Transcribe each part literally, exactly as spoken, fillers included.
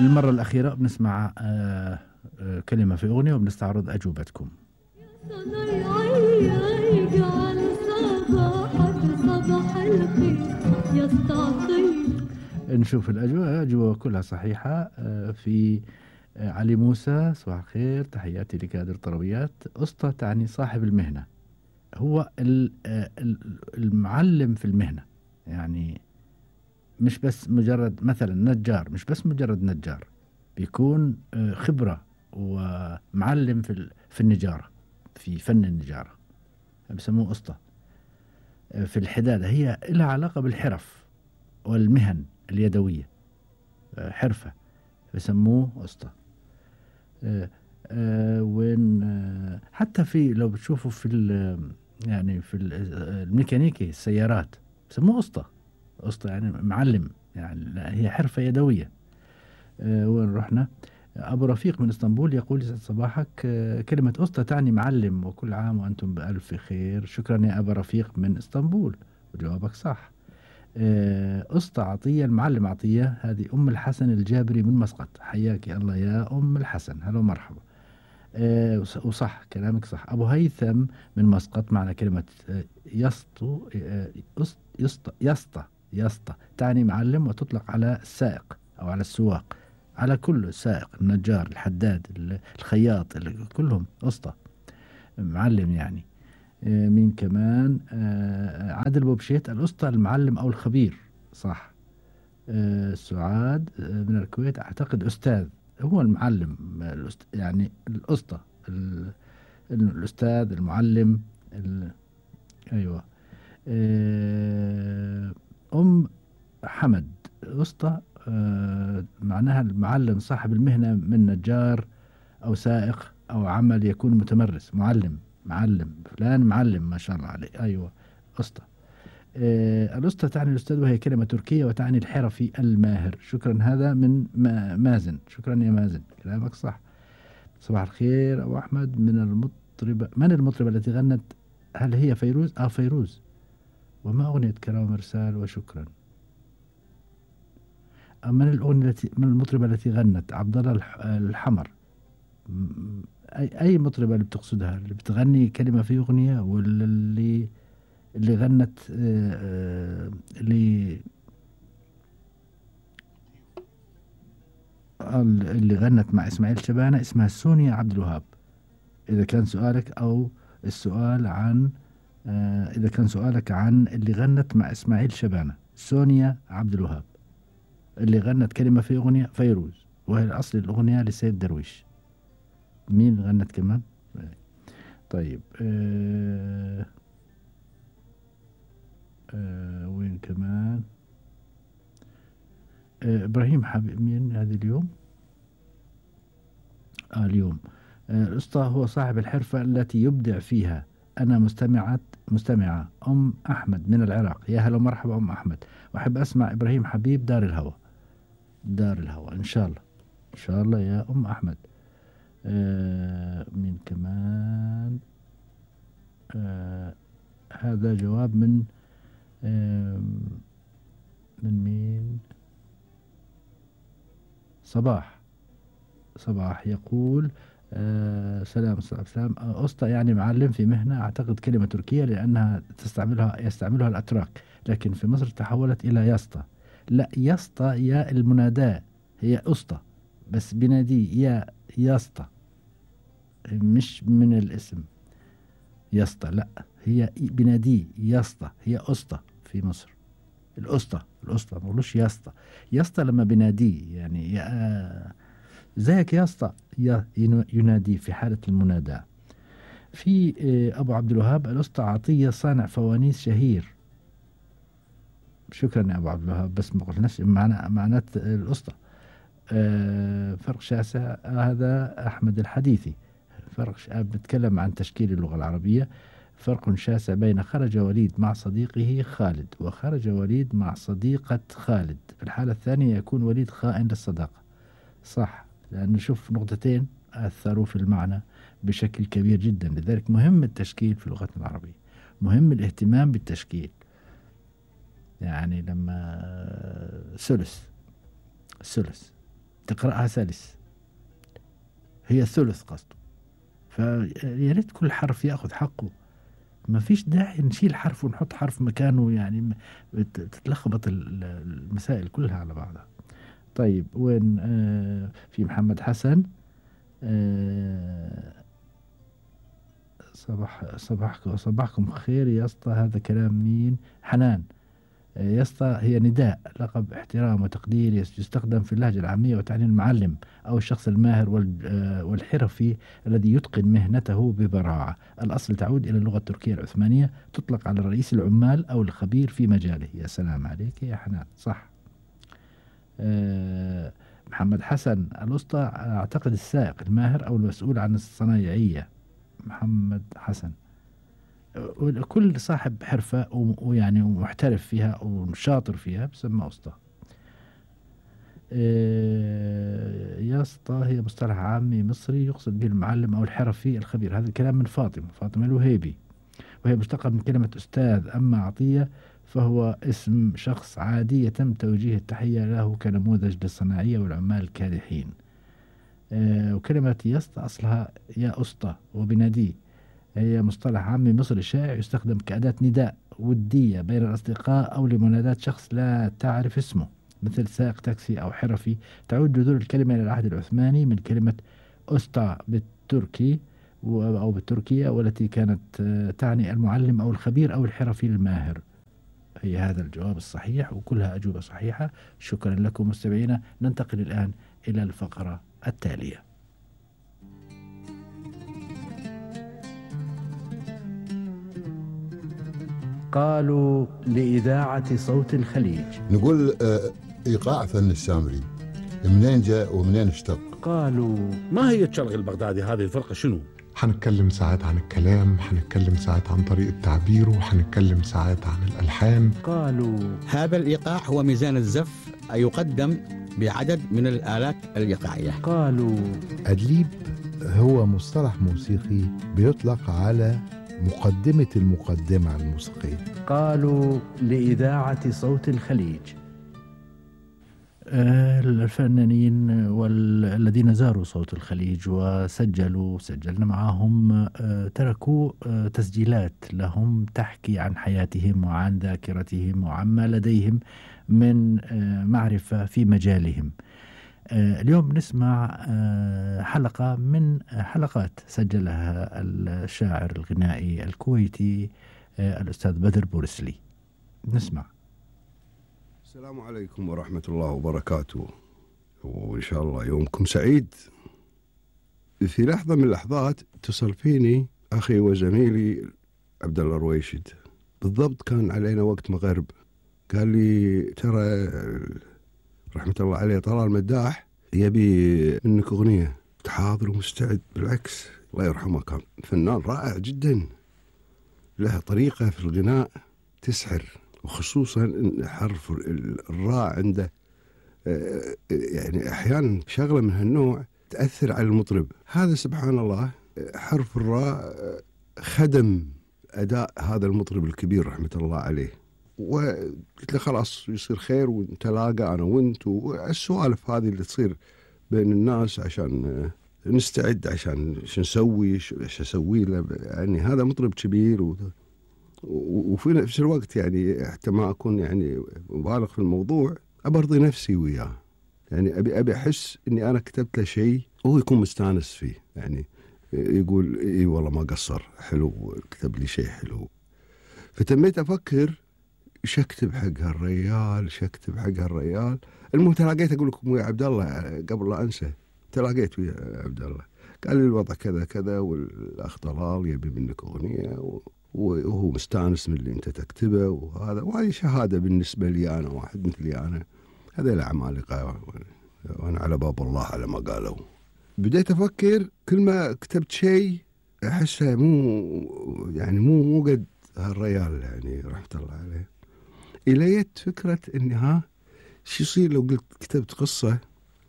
للمرة الأخيرة بنسمع آه آه كلمة في أغنية وبنستعرض أجوبتكم. نشوف الأجوبة، أجوبة كلها صحيحة. آه في آه علي موسى، صباح الخير، تحياتي لكادر طربيات. أسطى تعني صاحب المهنة، هو ال- آه ال- المعلم في المهنة، يعني مش بس مجرد مثلا نجار، مش بس مجرد نجار، بيكون آه، خبرة ومعلم في ال- في النجارة، في فن النجارة، بسموه أسطى. آه، في الحدادة هي لها علاقة بالحرف والمهن اليدوية، آه، حرفة، بسموه أسطى. آه، آه، وين آه، حتى في لو بتشوفوا في ال- يعني في ال- آه، الميكانيكي السيارات بسموه أسطى. أسطى يعني معلم، يعني لا، هي حرفة يدوية. آه، وين رحنا؟ أبو رفيق من اسطنبول يقول يسعد صباحك. آه، كلمة أسطى تعني معلم، وكل عام وأنتم بألف خير. شكرا يا أبو رفيق من اسطنبول، وجوابك صح. آه، أسطى عطية، المعلم عطية، هذه أم الحسن الجابري من مسقط. حياك الله يا أم الحسن، هلا ومرحبا. آه، وص- وصح كلامك صح. أبو هيثم من مسقط، معنى كلمة آه، يسطو، آه، يسط- يسطى يسطى يسطى تعني معلم، وتطلق على السائق أو على السواق، على كل سائق، النجار، الحداد، ال- الخياط، ال- كلهم أسطى، معلم يعني. آه، مين كمان؟ آه، عادل بوبشيت، الأسطى المعلم أو الخبير، صح. آه، سعاد آه، من الكويت، أعتقد أستاذ هو المعلم، آه، الأست... يعني الأسطى، ال... الأستاذ المعلم، ال... أيوة. آه، أم حمد، أسطى آه، معناها المعلم، صاحب المهنة، من نجار أو سائق أو عمل يكون متمرس، معلم، معلم فلان معلم، ما شاء الله عليه. أيوة، أسطى. آه، الأسطى تعني الأستاذ، وهي كلمة تركية وتعني الحرفي الماهر. شكرا، هذا من ما- مازن. شكرا يا مازن، كلامك صح. صباح الخير أبو أحمد. من المطربة، من المطربة التي غنت؟ هل هي فيروز؟ آه فيروز. وما أغنية كلام مرسال وشكرا؟ آه، من الأغنية التي، من المطربة التي غنت؟ عبد الله الح- الحمر. م- أي أي مطربة اللي بتقصدها، اللي بتغني كلمة في أغنية، ولا اللي اللي غنت آه، آه، اللي ال- اللي غنت مع إسماعيل شبانة، اسمها سونيا عبد الوهاب، إذا كان سؤالك، أو السؤال عن آه، إذا كان سؤالك عن اللي غنت مع إسماعيل شبانة، سونيا عبد الوهاب. اللي غنت كلمة في أغنية فيروز، وهي أصل الأغنية لسيد درويش. مين غنت كمان؟ طيب آه آه وين كمان؟ آه إبراهيم حبيب، مين هذه اليوم؟ آه اليوم. آه الأسطى هو صاحب الحرفة التي يبدع فيها. أنا مستمعة مستمعة أم أحمد من العراق. يا هلا ومرحبا أم أحمد، وأحب أسمع إبراهيم حبيب، دار الهوى. دار الهوى إن شاء الله، إن شاء الله يا أم أحمد. آه مين كمان؟ آه هذا جواب من آه من مين؟ صباح. صباح يقول آه سلام سلام. آه، أسطى يعني معلم في مهنة، أعتقد كلمة تركية لأنها تستعملها يستعملها الأتراك، لكن في مصر تحولت إلى يسطى. لا، يسطى يا المناداة، هي أسطى بس بناديه يا يسطى، مش من الاسم يسطى، لا، هي بناديه يسطى، هي أسطى في مصر. الأسطى، الأسطى ما بقولوش يسطى. يسطى لما بناديه، يعني يا زيك يا اسطى، يا ينو- ينادي في حالة المناداة. في آه، أبو عبد الوهاب، الأسطى عطية صانع فوانيس شهير. شكرا يا أبو عبد الوهاب، بس ما قلناش معنى معنات الأسطى. آه، فرق شاسع. هذا أحمد الحديثي. فرق ش- بتكلم عن تشكيل اللغة العربية. فرق شاسع بين خرج وليد مع صديقه خالد، وخرج وليد مع صديقة خالد. في الحالة الثانية يكون وليد خائن للصداقة. صح، لأنه شوف نقطتين أثروا في المعنى بشكل كبير جدا. لذلك مهم التشكيل في لغتنا العربية، مهم الاهتمام بالتشكيل. يعني لما ثلث، ثلث تقرأها سلس، هي الثلث قصده. فيا ريت كل حرف ياخذ حقه، ما فيش داعي نشيل حرف ونحط حرف مكانه، يعني تتلخبط المسائل كلها على بعضها. طيب وين آه في محمد حسن، آه صباح صباحكم صباحكم خير يا اسطى، هذا كلام مين؟ حنان. يا اسطى هي نداء، لقب احترام وتقدير يستخدم في اللهجة العامية وتعني المعلم أو الشخص الماهر والحرفي الذي يتقن مهنته ببراعة. الأصل تعود إلى اللغة التركية العثمانية، تطلق على رئيس العمال أو الخبير في مجاله. يا سلام عليك يا حنان، صح. أه محمد حسن، الأسطى أعتقد السائق الماهر أو المسؤول عن الصنايعية. محمد حسن، كل صاحب حرفة ويعني محترف فيها وشاطر فيها بسمى أسطى. يا اسطى هي مصطلح عامي مصري يقصد به المعلم أو الحرفي الخبير. هذا الكلام من فاطمة فاطمة الوهيبي، وهي مشتقة من كلمة أستاذ. أما عطية فهو اسم شخص عادي يتم توجيه التحية له كنموذج للصناعية والعمال الكادحين. وكلمة يا اسطى أصلها يا أسطى وبناديه، هي مصطلح عامي مصري شائع يستخدم كأداة نداء ودية بين الأصدقاء أو لمناداة شخص لا تعرف اسمه، مثل سائق تاكسي أو حرفي. تعود جذور الكلمة إلى العهد العثماني من كلمة أستا بالتركي أو بالتركية، والتي كانت تعني المعلم أو الخبير أو الحرفي الماهر. هي هذا الجواب الصحيح وكلها أجوبة صحيحة. شكرا لكم مستمعينا. ننتقل الآن إلى الفقرة التالية. قالوا لإذاعة صوت الخليج. نقول إيقاع فن السامري منين جاء ومنين اشتق؟ قالوا ما هي الشرق البغدادي؟ هذه الفرقة شنو؟ حنتكلم ساعات عن الكلام، حنتكلم ساعات عن طريقة تعبيره، وحنتكلم ساعات عن الألحان. قالوا هذا الإيقاع هو ميزان الزف يقدم بعدد من الآلات الإيقاعية. قالوا أدليب هو مصطلح موسيقي بيطلق على مقدمة المقدمة الموسيقية. قالوا لإذاعة صوت الخليج. الفنانين والذين زاروا صوت الخليج وسجلوا سجلنا معهم تركوا تسجيلات لهم تحكي عن حياتهم وعن ذاكرتهم وعما لديهم من معرفة في مجالهم. اليوم نسمع حلقة من حلقات سجلها الشاعر الغنائي الكويتي الأستاذ بدر بورسلي. نسمع. السلام عليكم ورحمة الله وبركاته، وإن شاء الله يومكم سعيد. في لحظة من اللحظات اتصل فيني أخي وزميلي عبد الله رويشد، بالضبط كان علينا وقت مغرب. قال لي ترى رحمة الله عليه طلال مداح يبي منك أغنية. حاضر ومستعد، بالعكس الله يرحمه كان فنان رائع جدا، له طريقة في الغناء تسحر، وخصوصا حرف الراء عنده يعني أحيانا شغلة من هالنوع تأثر على المطرب. هذا سبحان الله حرف الراء خدم أداء هذا المطرب الكبير رحمة الله عليه. وقلت له خلاص يصير خير ونتلاقى أنا وانت، والسوالف هذه اللي تصير بين الناس عشان نستعد عشان شو نسوي ايش اسوي له. يعني هذا مطرب كبير و... وفي نفس الوقت يعني حتى ما أكون يعني مبالغ في الموضوع، أبرضي نفسي وياه. يعني أبي أبي أحس إني أنا كتبت له شيء وهو يكون مستانس فيه، يعني يقول إيه والله ما قصر، حلو كتب لي شيء حلو. فتميت أفكر إيش أكتب حق هالريال، إيش أكتب حق هالريال. المهم تلاقيت أقول لكم ويا عبد الله قبل لا أنسى، تلاقيت ويا عبد الله قال لي الوضع كذا كذا والأخ طلال يبي منك أغنية و... وهو مستانس من اللي أنت تكتبه، وهذا وهذه شهادة بالنسبة لي أنا، واحد مثلي أنا. هذا العمالقة وأنا على باب الله على ما قالوا. بديت أفكر كل ما كتبت شيء أحسه مو يعني مو مو قد هالريال يعني رحمة الله عليه. إليت فكرة إن ها شو يصير لو قلت كتبت قصة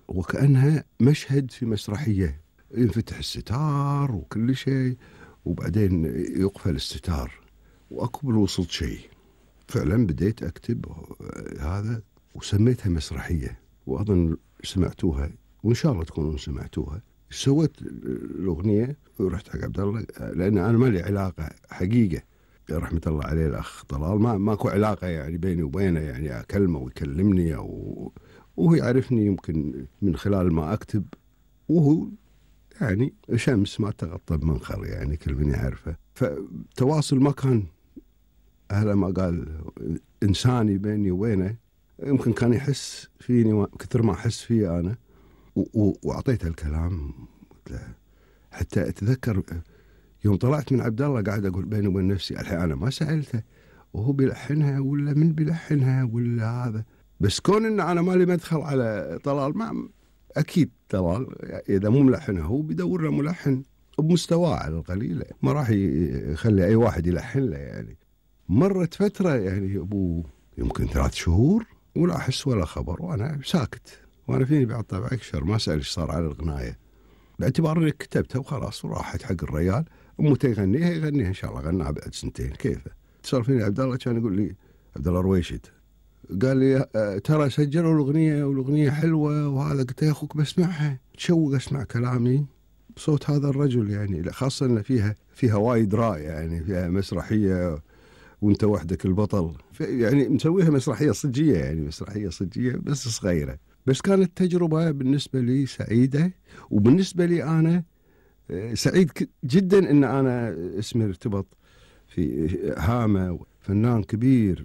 وكأنها مشهد في مسرحية، ينفتح الستار وكل شيء وبعدين يقفل الستار وأقبل وصلت شيء. فعلا بديت أكتب هذا وسميتها مسرحية، وأظن سمعتوها وإن شاء الله تكونون سمعتوها. سويت الأغنية ورحت حق عبد الله، لأن أنا ما لي علاقة حقيقة رحمة الله عليه الأخ طلال، ما ماكو علاقة يعني بيني وبينه، يعني أكلمه ويكلمني أو وهو يعرفني يمكن من خلال ما أكتب، وهو يعني شمس ما تغطى بمنخر يعني كل من يعرفه. فتواصل ما كان أهلا ما قال إنساني بيني وبينه، يمكن كان يحس فيني كثر ما أحس فيه أنا، وأعطيته الكلام. حتى أتذكر يوم طلعت من عبد الله قاعد أقول بيني وبين نفسي الحين أنا ما سألته وهو بيلحنها ولا من بيلحنها ولا هذا، بس كون إن أنا مالي مدخل على طلال، ما أكيد طلال إذا مو ملحنها هو بيدور له ملحن بمستواه على القليل، ما راح يخلي أي واحد يلحن له. يعني مرت فترة يعني أبو يمكن ثلاث شهور ولا أحس ولا خبر، وأنا ساكت، وأنا فيني بعد طبع أكشر ما أسأل إيش صار على الغناية، باعتبار إني كتبتها وخلاص وراحت حق الرجال. أمته يغنيها يغنيها إن شاء الله، غناها بعد سنتين كيفه. اتصل فيني عبد الله كان يقول لي عبد الله رويشد، قال لي ترى سجلوا الأغنية والأغنية حلوة وهذا. قلت يا أخوك بسمعها، تشوق أسمع كلامي بصوت هذا الرجل، يعني خاصة إن فيها فيها وايد راي، يعني فيها مسرحية وانت وحدك البطل، يعني مسويها مسرحية صجية، يعني مسرحية صجية بس صغيرة. بس كانت تجربة بالنسبة لي سعيدة، وبالنسبة لي أنا سعيد جدا إن أنا اسمي ارتبط في هامة، فنان كبير